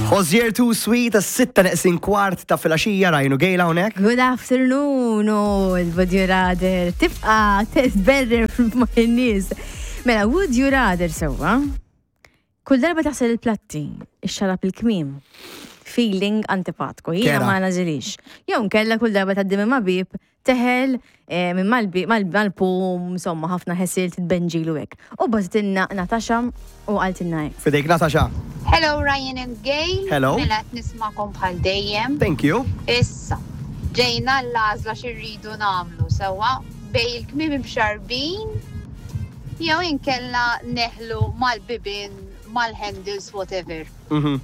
Hozier Too Sweet, s-sitta neqsin kwart ta' filgħaxija Ryan u Gail hawnhekk. Good afternoon, u l-Would you rather tibqa tberrer ma' in-nies. Mela, would you rather sewwa? Kull darba taħsel il-platti, ixxarab il-kmiem. Feeling antipatku, jiena Kera. ma nażilix. Jew nkella kull darba tgħaddi minn ma' bib, teħel eh, minn mal-bib, mal-pum, insomma, ħafna ħesil titbenġilu hekk. U bagħtitilna Natasha u qaltilna hekk. Fidejk Natasha. Hello Ryan and Gail. Hello. Mela qed nismakom bħal dejjem. Thank you. Issa, ġejna l-għażla x'irridu nagħmlu sewwa bejn il-kmiem imxarrbin jew inkella neħlu mal-bibien, mal-handles, whatever. Mhm.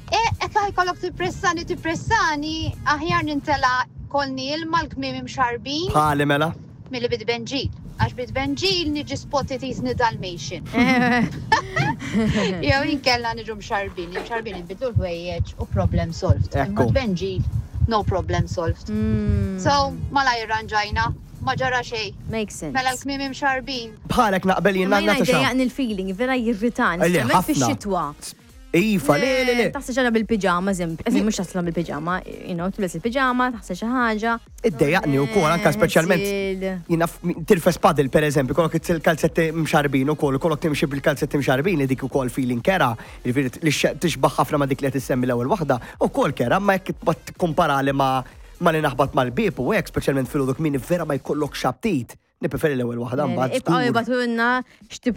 E, hekk ħajkollok tippressani, tippressani, aħjar nintela kolni ilma l-kmiem imxarrbin Bħali mela. milli bit-tbenġil. Għax bit-tbenġil niġi spotted jisni Dalmatian. Jew inkella niġu mxarrbin, imxarrbin inbidlu l-ħwejjeġ u problem solved. Imma Ekku. tbenġil, no problem solved. So, malajr ranġajna, ma ġara xejn. Makes sense. Mela l-kmiem imxarrbin. Bħalek naqbel jien Imma jiena Natasha. jdejjaqni l-feeling, vera jirritani, Le, speċjalment ħafna. fix-xitwa. Iva, le, le, le. Taħseb xi ħaġa bil-piġama, eżempju, eżempju, mhux taħseb bil-piġama, you know, tilbes il-piġama, taħseb xi ħaġa. Iddejjaqni wkoll anke speċjalment jiena tirfes padel pereżempju, kollok il-kalzetti mxarbin ukoll, kollok timxi bil-kalzetti mxarbin li dik ukoll feeling kera, jiġifieri li tixbaħ ħafna ma' dik li qed issemmi l-ewwel waħda, ukoll kera, ma jekk tibqa' tikkumparali ma' ma' li naħbat mal-bieb u hekk, speċjalment filgħodu kmieni vera ma jkollokx aptit. Nippreferi l-ewwel waħda mbagħad. Ibqgħu żgur. ibgħatulna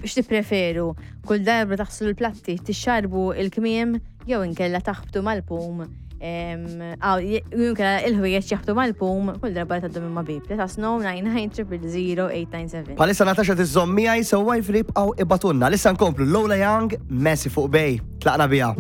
x'tippreferu. Kull darba taħslu l-platti, tixxarbu il-kmiem jew inkella taħbtu mal-pum. Jew inkella il-ħwejjeġ jaħbtu mal-pum kull darba li tgħaddu minn ma' bib. Let us know 99 000 897. Bħalissa Natasha tiżżomm miegħi sewwa jfri ibqgħu ibgħatulna. Issa nkomplu Lola Young, Messi fuq Bay. Tlaqna biha.